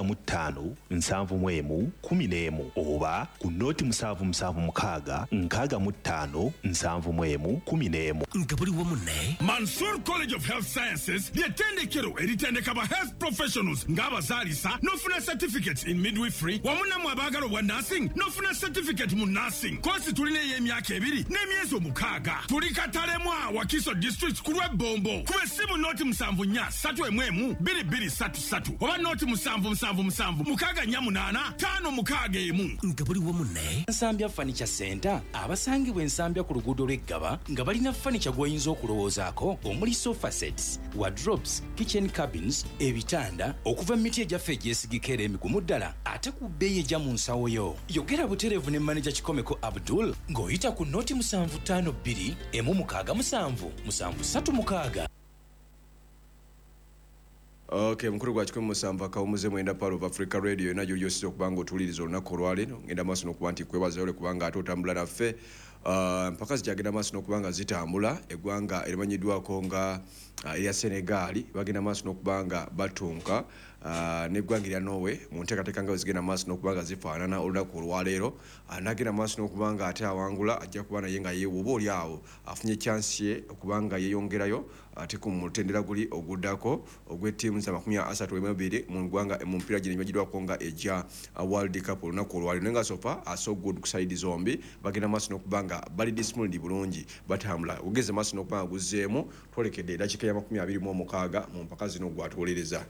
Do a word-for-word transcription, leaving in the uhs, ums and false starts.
Mu ttaano nsanvu mu emu kumi n'emu oba ku nooti musanvu musanvu mukaaga nkaaga mu ttaano nsanvu mu emu kumi n'emu. Nga buli wamu ne Mansur College of Health Sciences ly'ettendekero eritendeka ba health professionals ng'abazaalisa n'ofuna certificates in midwifery, wamu nammwe abaagala obwa nursing n'ofuna certificate mu nursing. Kosi tulina ey'emyaka ebiri n'emyezi omukaaga. Tuli Katalemwa, Wakiso District, ku lw'Ebbombo. Kuba essimu nooti musanvu nnya ssatu emu emu bbiri bbiri ssatu ssatu oba nooti musanvu musanvu musanvu mukaaga nnya munaana ttaano mukaaga emu. Nga buli wamu ne Nsambya Furniture Center, abasangibwa Ensambya ku luguudo lw'Eggaba, nga balina furniture gw'oyinza okulowoozaako, omuli sofa sets, wardrobes, kitchen cabins, ebitanda okuva mu miti egyaffe egyesigika era emigumu ddala, ate ku bbeeyi ejja mu nsawo yo. Yogera butereevu ne maneja Kikomeko Abdul ng'oyita ku nooti musanvu ttaano bbiri emu mukaaga musanvu musanvu ssatu mukaaga. Okay, mukulu gwa kikumi musanvu akawumuze mwenda, Pearl of Africa Radio yonna gyoli osiza okuba nga otuwuliriza olunaku olwaleero. Ngenda maaso n'okuba nti kwebazayo ole kubanga ate otambula naffe. Uh, mpaka zikyagenda maaso n'okuba nga zitambula. Eggwanga erimanyiddwako nga uh, erya Senegali bagenda maaso n'okuba nga batunka uh, n'eggwanga erya Norway mu nteekateeka nga bwe zigenda maaso n'okuba nga zifaanana olunaku olwaleero. uh, nagenda maaso n'okuba nga ate awangula ajja kuba naye nga ye oba oli awo afunye chance ye okuba nga yeeyongerayo ate ku mutendera guli oguddako ogw'ettiimu za makumi asatu mu ebiri mu ggwanga mu mupiira gino egimanyiddwako nga egya uh, World Cup olunaku olwaleero. Naye nga so far uh, so good ku side zombi, bagenda maaso n'okuba nga bali disciplined bulungi, batambula. Ogeze maaso n'okuba nga guzzeemu, twolekedde eddakiika ya makumi abiri mu omukaaga mu mpaka zino gwatuwolereza.